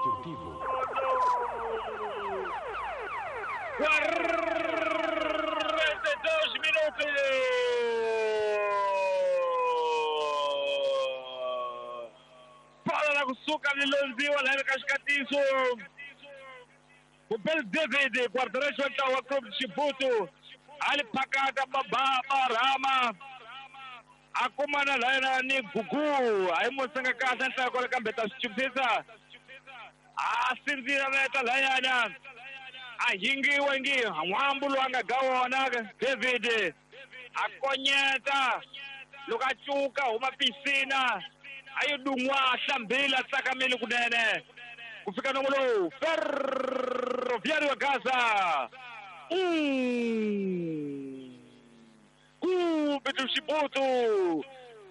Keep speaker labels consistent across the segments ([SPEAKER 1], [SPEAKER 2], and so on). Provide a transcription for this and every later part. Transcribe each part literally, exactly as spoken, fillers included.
[SPEAKER 1] Desportivo.
[SPEAKER 2] quarenta e dois minutos! Bola na kusuka lilonziwa la kaxikatiso. Kubel David guarda-redes wa ntlawa wa Clube de Chibuto a li phakata Barama a kumana layena ni Gugu a yi musenga kahle nhlaya kwale kambe ta swi chupisa a sindzira veta layana a hingiwe ngi n'wambu lowu a nga ga wona David a konyeta loko a cuka huma pisina a yi dun'wa hlambile a tsakamile kunene ku fika nomo lowu Ferroviário Gaza um Clube do Chibuto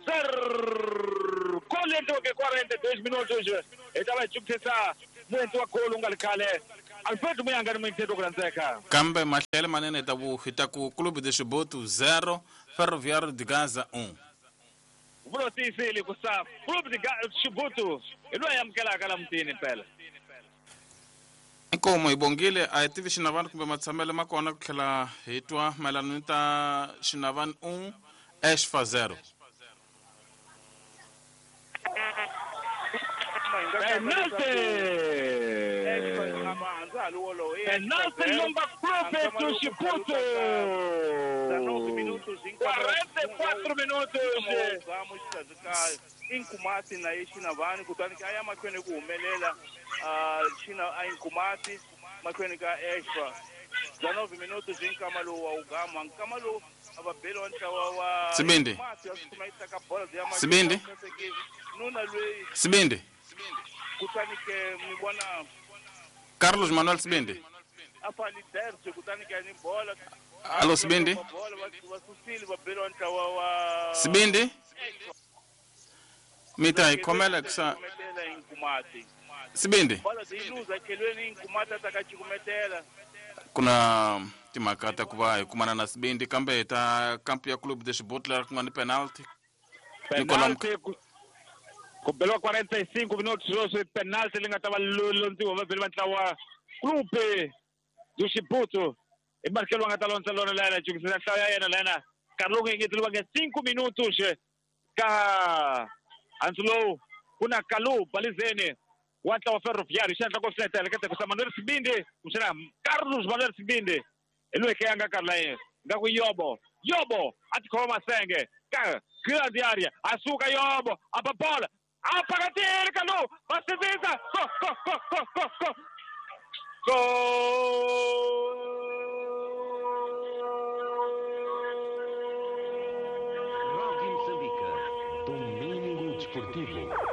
[SPEAKER 2] zero gol endliweke quarenta e dois minutos hi ta va hi chupisa muendli wa golo u nga ri khale Alfred Muyanga ni muendli ku landzeka
[SPEAKER 3] kambe mahlele manene ta ku hi ta ku Clube de Chibuto zero Ferroviário de Gaza um
[SPEAKER 2] vulo tiyisile ku sa Clube de Chibuto hi loyi amukelaka la mutini mpela
[SPEAKER 3] inkomo hi bongile a hi tivi xinavani kumbe matshamelo ma kona ku tlhela hi twa mayelana ni ta xinavani un Exfa zero
[SPEAKER 2] Penalty! Penalty number Clube do Chibuto! quarenta e quatro minutos!
[SPEAKER 4] Inkumati na ye Xinavani kutani ka ya mahlweni ku humelela xina a Inkumati mahlweni ka Exfa dezenove minutos hi nkama lowu wa ugama nkama lowu a va beli wa ntlawa wa
[SPEAKER 3] Sibindi Sibindi
[SPEAKER 4] nuna lweyi
[SPEAKER 3] Sibindi
[SPEAKER 4] kutani ke ni vona
[SPEAKER 3] Carlos Manuel Sibindi
[SPEAKER 4] a fali terce kutani ke ni bola
[SPEAKER 3] Alo Sibindi
[SPEAKER 4] va susile va beli wa ntlawa wa
[SPEAKER 3] Sibindi mita hi khomela kusa Sibindi kuna timhaka ta ku va hi kumana na Sibindi kambe hi ta kampu ya Clube de Chibuto leri ku nga ni penalty
[SPEAKER 2] penalty ku beliwa quarenta e cinco minutos sweswi penalty leyi nga ta va londziwa vavheli va ntlawa Clube do Chibuto i Marcelo nga ta londza lona layena jukisela nhlayo ya yena layena nkarhi lowu nga engeteriwanga cinco minutos ka hansi lowu ku na Kalu Balizeni wa ntlawa Ferroviário xi endla ku swi letela ku sa Manuel Sibindi kumbexana Carlos Manuel Sibindi hi loyi ke a nga karhi la yena nga ku Yobo Yobo a tikhoma masenge ka grande area a suka Yobo a ba bola a phakatile Kalu va sindzisa go go go go go go go
[SPEAKER 1] Rádio Moçambique, Domingo Desportivo.